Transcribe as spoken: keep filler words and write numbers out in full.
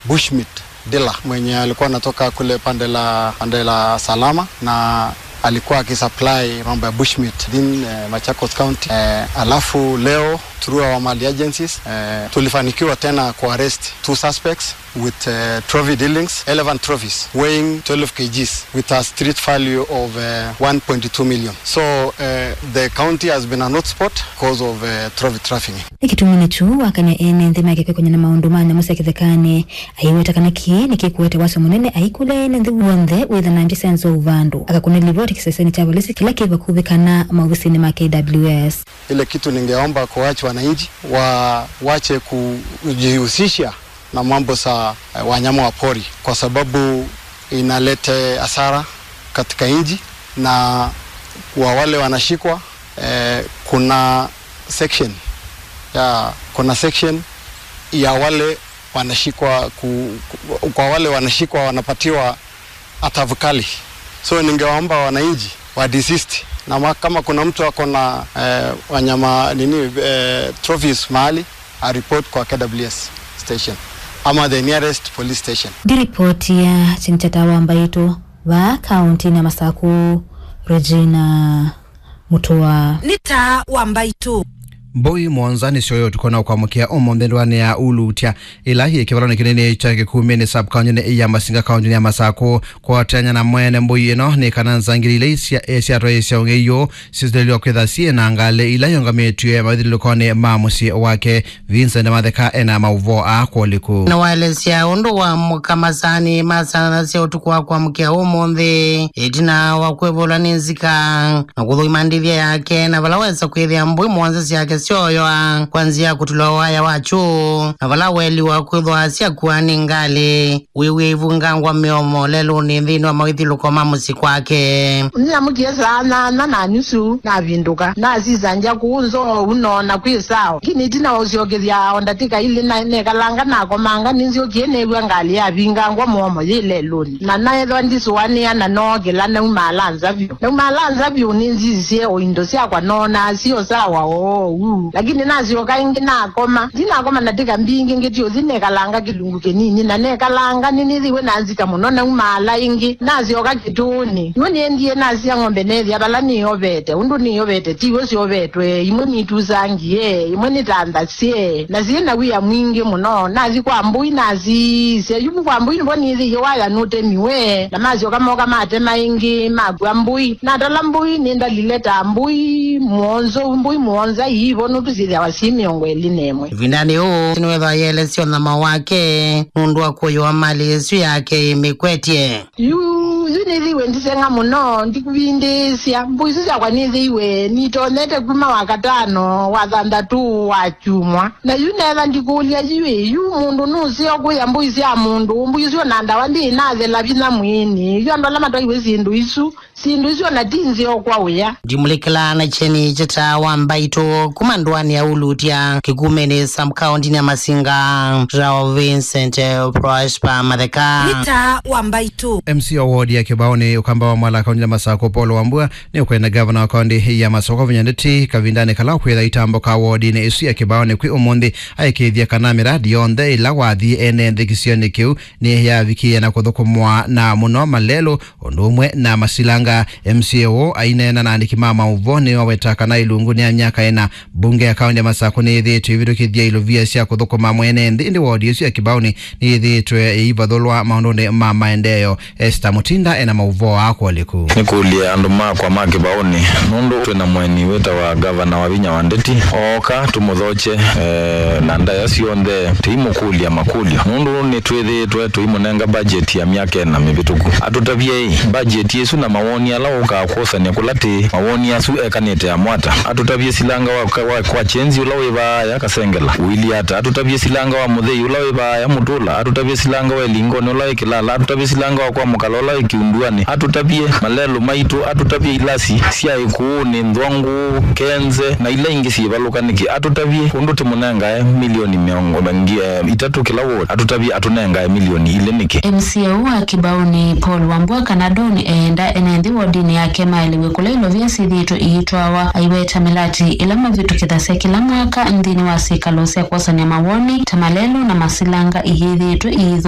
Bushmeat dealer mwenye alikuwa anatoka kule pande la, pande la Salama, na alikuwa akisupply mambo ya bushmeat in, eh, Machakos County. Eh, alafu leo through our Mali agencies, eh, tulifanikiwa tena kuarrest two suspects with, eh, trophy dealings, eleven trophies weighing twelve kilograms with a street value of, eh, one point two million. So, eh, the county has been an hotspot because of, eh, trophy trafficking. Nĩ kĩtumi nĩkyo wakany'a ene nthĩ make kwĩkony'a na maũndũ ma nyamũ sya kĩthekanĩ. Aiweta kana kĩĩ nĩkĩkũete wasyo mũnene aikũlya ene nthĩ w'onthe wĩtha na ngya sya nzou vandũ. Akakũna livoti kĩsesenĩ kya volisi kĩla kĩ vakuvĩ kana maovisinĩ ma K W S. Ile kitu ningeomba kwa wache wananchi wa, wache kujihusisha na mambo za, eh, wanyama wa pori, kwa sababu inalete hasara katika nchi, na kwa wale wanashikwa, eh, kuna section ya, kuna section ya wale wanashikwa ku, ku, kwa wale wanashikwa wanapatiwa adhabu kali. So ningewaomba wananchi wa desist, na ma, kama kuna mtu ako na, eh, wanyama nini, eh, trophies mahali, a report kwa K W S station ama the nearest police station. Ndi ripoti ya Chingchata wa Mbaitũ, vaa kaunti ya Masaku, Regina Mutua. Nĩ taa wa Mbaitũ. Mbũi mũonza nĩsyoyoo ũtukũ na ũkwamũkĩa ũmũnthĩ ndũanĩ ya Ulutya, ĩla yĩ kĩvalonĩ kĩnene kya Kĩkumĩnĩ sub-kauntinĩ ya Masinga kauntinĩ ya Masaku. Kũatĩanĩa na mwene mbũi ĩno nĩ kana nzangili ila isya-, syatwaĩĩsya ũng'ei ũũ syĩsilĩlw'a kwĩtha syĩ na ngalĩ ila iũngamĩtw'e mawĩthyũlũlũkonĩ ma mũsyĩ wake. Vincent Matheka ena maũvoo aa kwa ũliku. Na waelesya ũndũ wa mũka masaanĩ ma saa nana sya ũtukũ wa kwamũkĩa ũmũnthĩ, ĩtina wa kwĩvũlwa nĩ nzika na kũthũima ndĩthya yake, na vala wesa kwĩthĩa mbũi mũonza syake syoyoa kwa nzĩa ya kũtulwa waya wa kyũũ, na vala weliwa kwĩthwa syakua nĩ ngalĩ. Wĩw'e ivungangwa mĩomo lelũnĩ nthĩnĩ wa mawĩthyũlũko ma mũsyĩ kwake. Nĩnamũkie saa nyanya na nusu, navindũka, nasisangya kũũ nzou noona kwĩ sawa. Lakini ĩtina wa ũsyokethya o ndatĩka ilĩ, na nekalanga nakomanga, nĩnzyokie neew'a ngalĩ yavingangwa mũomo yĩ lelũnĩ. Na naethwa ndisũanĩa na nookĩla naumaala nza vyũ. Naumaala nza vyũ, nĩnzisisye o indo syakwa noonaa syo sawa oou. Lakini nasyoka ĩngĩ nakoma. Ndinakoma ndatĩka mbingĩ, ngĩti ũthi nekalanga kĩlungu kĩnini, na nekalanga nĩnĩthĩwe na nzika mũno, naumaala ĩngĩ, nasyoka kĩtũũnĩ. Yu nĩendie nasya ng'ombe neethĩa vala nĩyovete, ũndũ nĩyovete tiw'o syovetwe, imwe nitusangie, imwe nĩtanthasye, na syĩ na wia mwingĩ mũno. Nathi kwa mbũi, nasisya yu kwa mbũi nĩvo nĩthĩie waya nũtemiwe, na masyoka moka matema ĩngĩ, makua mbũi. Natala mbũi, nĩndalile ta mbũi mũonzo, mbũi mũonza iivo nũndũ syĩthĩawa syĩ mĩongo ĩlĩ na ĩmwe. Ĩvindanĩ ũũ, nĩwethwa yelesya ũnyama wake nũndũ wa kũyũa malĩ ĩsu yake ĩmĩkwetye. Yu, yu nĩthĩiwe ndiseng'a mũno, ndikũvindĩĩsya. Mbũi isu syakwa nĩthĩiwe nitonyete kuma Wakatano, Wathanthatũ, Wakyumwa. Na yu neetha ndikũlya, yu ĩ, yu mũndũ nũseo kũya mbũi sya mũndũ? Mbũi isu ona ndawa ndĩĩ nathela vinya mwĩĩnĩ. Yu andũ ala matwaiwe syĩndũ isu, syĩndũ isu ona ti nzeo kwa ũya. Ndimũlĩkĩla na kyeni kya taa wa Mbaitũ kuma ndũanĩ ya Ulutya, Kĩkumĩnĩ sub-kauntinĩ ya Masinga, Rao Vincent, eh, Prosper Matheka. Nĩ taa wa Mbaitũ. M C A wa wodi ya Kĩbaoni, Ũkamba wa Mwala, kaunti ya Masaku, Paul Wambua, nĩũkwenda gavana wa kaunti ya Masaku kũvinya ndeto kavindanĩ kala ũkwĩtha ĩtambo ka wodinĩ ĩsu ya Kĩbaoni kwĩ ũmũnthĩ, aĩkĩĩthya kana mĩradi yonthe ĩla wathi ene nthĩ kĩsionĩ kĩu nĩyavikĩĩa na kũthũkũmwa na mũno malelũ, ũndũ ũmwe na masilanga. M C A ũũ aineena na andĩki ma maũvoo nĩwaweta kana ĩlungu nĩ ya myaka ĩna, mbunge ya kaunti ya Masaku nĩyĩthĩĩtwe ĩvĩtũkĩthya ilovia sya kũthũkũma mwene nthĩ, ĩndĩ wodi ĩsu ya Kĩbaoni nĩyĩthĩĩtwe ĩivathũlwa maũndũnĩ ma maendeeo. Esther Mutinda ena maũvoo aa kwa ũliku. Nĩkũlye andũ makwa ma Kĩbaoni, nũndũ twĩ na mũeni wĩtawa gavana wa vinya wa ndeti, ooka tũmũthokye, eh, na ndaĩa syonthe, tũimũkũlya makũlyo, nũndũ nĩtwĩthĩĩtwe tũimũnenga budget ya myaka ĩna mĩvĩtũku. Atũtavyei budget ĩsu na mawoni ala ũkaa kwosany'a kũla tĩĩ, mawoni asu ekanĩte amwe ata. Atũtavye silanga wa, wa, wa Kyenzi ũla wĩ vaaya Kasengela ũilyĩ ata. Atũtavye silanga wa Mũthei ũla wĩ vaaya Mũtũla. Atũtavye silanga wa Ĩlingoni ũla wĩ Kĩlala. Atũtavye silanga wa kwa Mũkala ũla wĩ Kiu. Nduanĩ, atũtavye malelũ maitũ, atũtavye ilasi sya Ĩkũũnĩ, Nthwangũũ, Kenze, na ila ingĩ syĩvalũka nĩkĩ. Atũtavye ũndũ tũmũnengae milioni mĩongo, ngi-, eh, itatũ kĩla ward. Atũtavye atũnengae milioni ilĩ nĩkĩ. M C A ũũ wa Kĩbaũnĩ, Paul Wambua kana Don, eenda ene nthĩ wodinĩ yake maelew'e kũla ilovia syĩthĩĩtwe iitwawa. Aiweta mĩlati ĩla mavĩtũkĩthasya kĩla mwaka nthĩnĩ wa syĩkalo sya kwosany'a mawoni, ta malelũ na masilanga, iyĩthĩĩtwe iithũkũma